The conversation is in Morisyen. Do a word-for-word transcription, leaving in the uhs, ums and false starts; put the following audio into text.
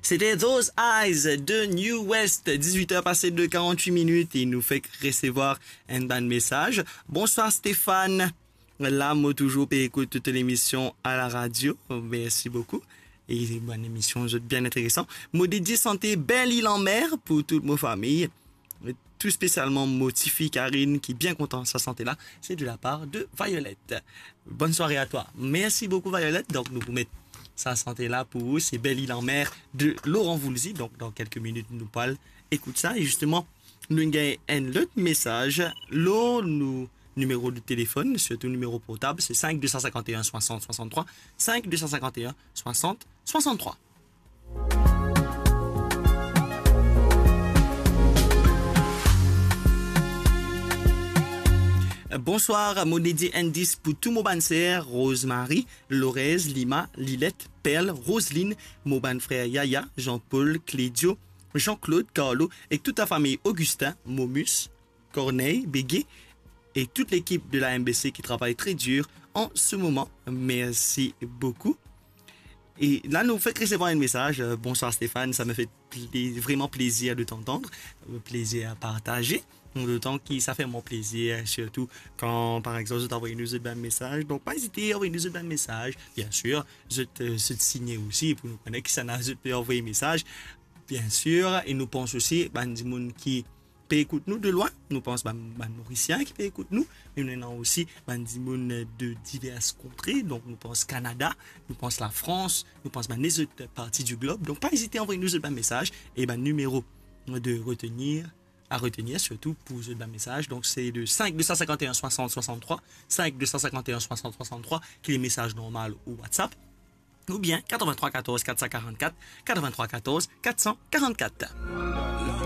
C'était Those Eyes de New West, dix-huit heures passées de quarante-huit minutes, e nou fek resevwar enn bann mesaz. Bonswar Stéphane, la mo touzour pe ekout tout lemision a la radio, mersi boukou. E bann lemision zot bien interesan. Mo dedie sante Belle Île en Mer pou tout mo fami, tou spesialman mo tifi Karine ki bien kontan sa sante la. C'est de la part de Violette. Bonne soirée à toi. Merci beaucoup Violette. Donk nou pou met sa sante la pou ou, c'est Belle Île en Mer de Laurent Voulzy. Donk dan kelke minit nou pou al ekout sa. E zisteman, nou gagn enn lot mesaz lor nou nimero de telefonn, sirtou nimero portab, se cinq deux cent cinquante et un soixante soixante-trois, cinq deux cent cinquante et un soixante soixante-trois. Bonswar, mo dedie enn dis pou tou mo bann ser, Rosemary, Lorez, Lima, Lilette, Perle, Roseline, mo bann frer Yaya, Jean-Paul, Clédio, Jean-Claude, Carlo, ek tout la fami Augustin, Momus, Corneille, Béguet, et toute l'équipe de la M B C qui travaille très dur en ce moment. Merci beaucoup. E la nou fek resevwar enn mesaz. Euh, bonsoir Stéphane, ça me fait plé-, vraiment plaisir de t'entendre, euh, plaisir à partager. Dotan ki sa fer mwa plezir, sirtou kan, par exanp, zot avoy nou zot bann mesaz. Donk, pa ezite avoy nou zot bann mesaz. Biensir, zot, euh, zot signe osi pou nou kone kisannla zot pe avoy mesaz. Biensir, e nou pans osi bann dimoun ki pe ekout nou de lwin. Nou pans bann, bann Morisien ki pe ekout nou, me nou ena osi bann dimoun de divers kontre. Donk, nou pans Kanada, nou pans Lafrans, nou pans bann lezot parti du globe. Donk, pa ezite avoy nou zot bann mesaz e bann nimero de retenir, à retenir surtout pour zot bann mesaz. Donk, se le cinq deux cent cinquante et un soixante soixante-trois, cinq deux cent cinquante et un soixante soixante-trois, ki le mesaz normal ou WhatsApp, oubien quatre-vingt-trois quatorze quatre cent quarante-quatre, quatre-vingt-trois quatorze quatre cent quarante-quatre.